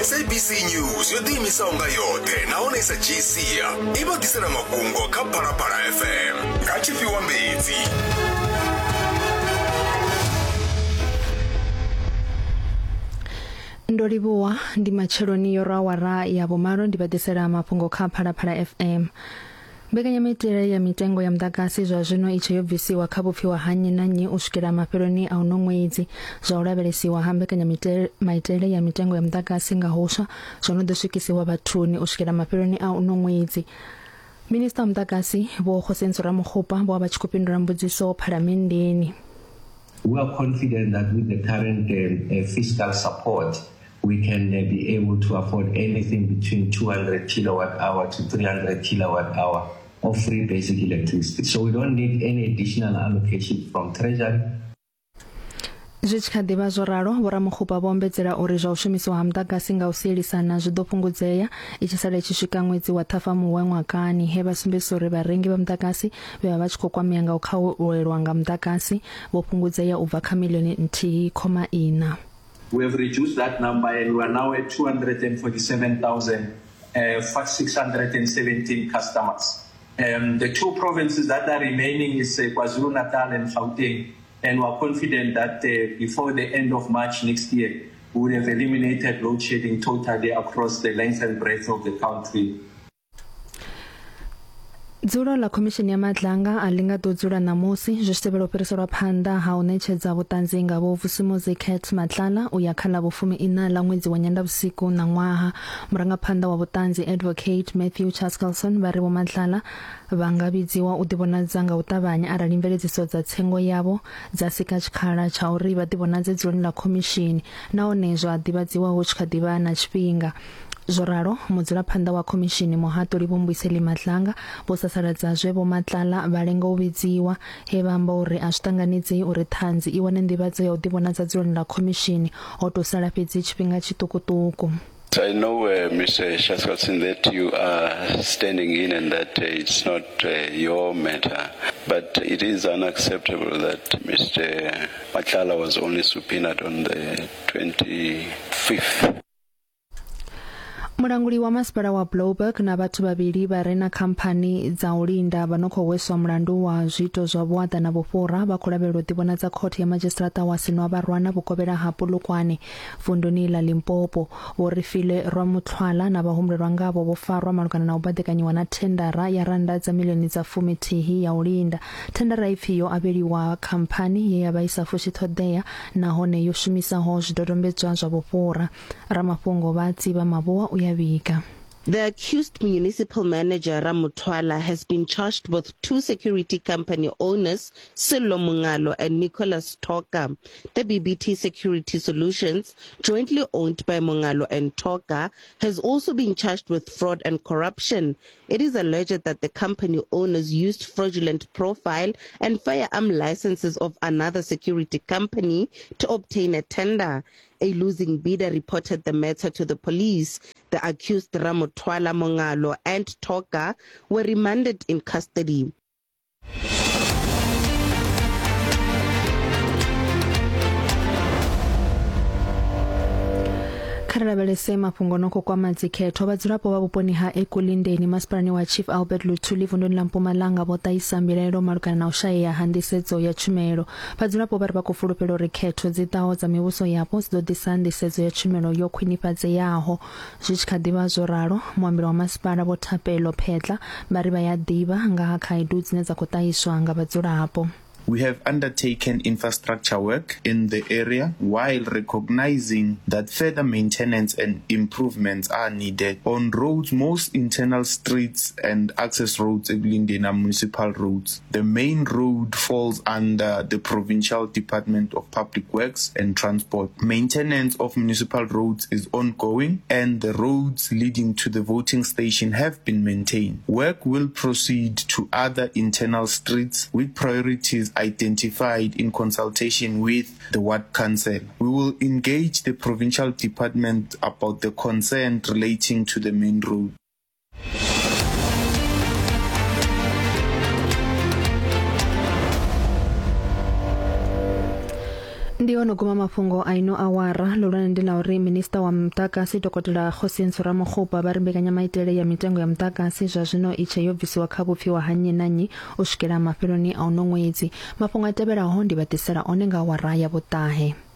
SABC News yo ḓiimisaho nga yoṱhe nahone i sa dzhii sia i vha ḓisela mafhungo kha Phalaphala FM nga tshifhiwa mbedzi. Ndo livhuwa ndi matsheloni yo rwa awara ya vhumalo ndi vha ḓisela mafhungo kha Phalaphala FM. Mbekanyamaitele ya mitengo ya muḓagasi zwa zwino i tshe yo bvisiwa kha vhupfiwa ha nnyi na nnyi u swikela mafheloni a uno ṅwedzi. Zwa u lavhelesiwa ha mbekanyamaitele ya mitengo ya muḓagasi nga huswa zwo no ḓo swikisiwa vhathuni u swikela mafheloni a uno ṅwedzi. Minisiṱa wa muḓagasi Vho Kgosientsho Ramokgopa vho vha vha tshi khou fhindula mbudziso Phalamenndeni. We are confident that with the current fiscal support we can be able to afford anything between 200 kilowatt hour to 300 kilowatt hour of free basic electricity. So we don't need any additional allocation from Treasury. Zwi tshi kha ḓi vha zwo ralo, Vho Ramokgopa vho ombedzela uri zwa u shumisiwa ha muḓagasi nga u sielisana zwi ḓo fhungudzea i tshi sala i tshi swika ṅwedzi wa Ṱhafamuhwe ṅwakani, he vha sumbedzisa uri vharengi vha muḓagasi vhe vha vha tshi khou kwamea nga u khauelwa nga muḓagasi vho fhungudzea u bva kha miḽioni nthihi khoma iṋa. We have reduced that number and we are now at 247,617 customers. Um, the two provinces that are remaining is uh, KwaZulu-Natal and Gauteng, and we are confident that uh, before the end of March next year, we would have eliminated load shedding totally across the length and breadth of the country. Dzulo ḽa Khomishini ya Madlanga a ḽi nga ḓo dzula ṋamusi zwi tshi tevhela u fhiriselwa phanḓa ha u ṋetshedza vhuṱanzi nga Vho Vusimuzi Cat Matlala u ya kha ḽa vhufumi iṋa ḽa ṅwedzi wa Nyendavhusiku ṋaṅwaha. Murangaphanḓa wa vhuṱanzi Advocate Matthew Chaskalson vha ri Vho Matlala vha nga vhidziwa u ḓivhonadza nga u ṱavhanya arali mveledziso dza tsengo yavho dza sika tshikhala tsha uri vha ḓivhonadze dzuloni ḽa khomishini nahone zwa ḓivhadziwa hu tshi kha ḓi vha na tshifhinga. Zwo ralo, mudzulaphanḓa wa khomishini Muhaṱuli Vho Mbuyiseli Madlanga vho sasaladza zwe Vho Matlala vha lenga u vhidziwa, he vha amba uri a zwi ṱanganedzei uri ṱhanzi i wane nḓivhadzo ya u ḓivhonadza dzuloni ḽa khomishini ho tou sala fhedzi tshifhinga tshiṱukuṱuku. I know, uh, Mr. Shaskotsin, that you are standing in and that uh, it's not uh, your matter, but it is unacceptable that Mr. Matlala was only subpoenaed on the 25th. Mulanguli wa masipala wa Blouberg na vhathu vhavhili vha re na khamphani dza u linda vha no khou hweswa mulandu wa zwiito zwa vhuaḓa na vhufhura vha khou lavhelelwa u ḓivhonadza khothe ya madzhisiṱiraṱa wa Sinwavharwana vhukovhela ha Polokwane vunduni ḽa Limpopo. Vho Refilwe Rwamuthwala na vhahumbulelwa ngavho vho farwa malugana na u baḓekanyiwa na thendara ya rannda dza miḽioni dza fumithihi ya u linda. Thendara ipfi yo avheliwa khamphani ye ya vha i sa fushi ṱhoḓea nahone yo shumisaho zwidodombedzwa zwa vhufhura. Ramafhungo vha Tsivha Mavhua u ya vhiga. The accused municipal manager Ramutwala has been charged with two security company owners, Sello Mungalo and Nicholas Toka. The BBT Security Solutions, jointly owned by Mungalo and Toka, has also been charged with fraud and corruption. It is alleged that the company owners used fraudulent profile and firearm licenses of another security company to obtain a tender. A losing bidder reported the matter to the police. The accused Ramotwala Mongalo and Toka were remanded in custody. Kha ri lavhelese mafhungo no khou kwama dzikhetho. Vhadzulapo vha vhuponi ha Ekulindeni masipalani wa Chief Albert Luthuli vunduni ḽa Mpumalanga vho ṱahisa mbilaelo malugana na u shayea ha nḓisedzo ya tshumelo. Vhadzulapo vha ri vha khou fulufhela uri khetho dzi ḓaho dza mivhuso yapo dzi ḓo ḓisa nḓisedzo ya tshumelo yo khwinifhadzeaho. Zwi tshi kha ḓi vha zwo ralo, muambeli wa masipala Vho Thapelo Phetla vha ri vha ya ḓivha nga ha khaedu dzine dza khou ṱahiswa nga vhadzulapo. We have undertaken infrastructure work in the area while recognizing that further maintenance and improvements are needed on roads, most internal streets and access roads Ekulindeni are municipal roads. The main road falls under the Provincial Department of Public Works and Transport. Maintenance of municipal roads is ongoing and the roads leading to the voting station have been maintained. Work will proceed to other internal streets with priorities identified in consultation with the ward council. We will engage the provincial department about the concern relating to the main road. Ndi hone guma mafhungo a ino awara. Ḽihulwane ndi ḽa uri minista wa muḓagasi Dokotela Kgosientsho Ramokgopa vha ri mbekanyamaitele ya mitengo ya muḓagasi zwa zwino i tshe yo bvisiwa kha vhupfiwa ha nnyi na nnyi u swikela mafheloni a uno ṅwedzi. Mafhungo a tevhelaho ndi vha ḓisela one nga awara ya vhuṱahe.